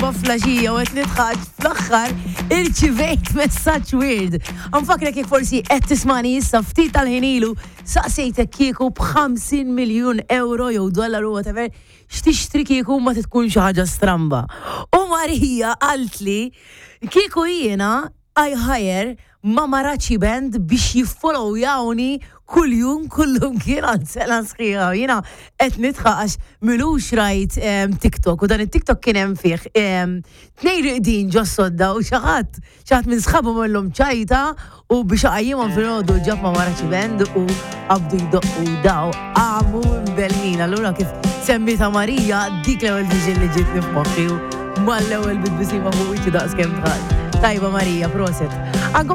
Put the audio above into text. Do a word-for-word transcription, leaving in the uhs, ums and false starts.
l-erbgħa filgħaxija u qed nidħak, fl-aħħar irċivejt messaġġ weird. Nfakkrek, jekk forsi qed tismani issa, ftit tal-ħin ilu saqsejtek kieku b'ħamsin miljun euro jew dollaru, whatever, x'tixtri kieku ma tkun xi ħaġa stramba. U Marija qaltli kieku jiena I hire Mamarachi Band biex jiffollowjawni kull-jum, kullum kien għal sena sħiħa. Jiena qed nidħak għax m'ilux rajt em, TikTok u dan it-TikTok kien hemm fih em, tnejn reqdin ġo sodda u xi ħadd xi ħadd minn sħabu għamlilhom ċajta u biex qajjimhom filgħodu ġab Mamarachi Band u qabdu jdoqqu daw qamu mbellhin. Allura kif semmita Marija, dik l-ewwel vision li ġietni f'moħħi u mal-ewwel bit-tbisima fuq wiċċi daqs kemm dħalt. Tajba Marija, prosit. Għankom.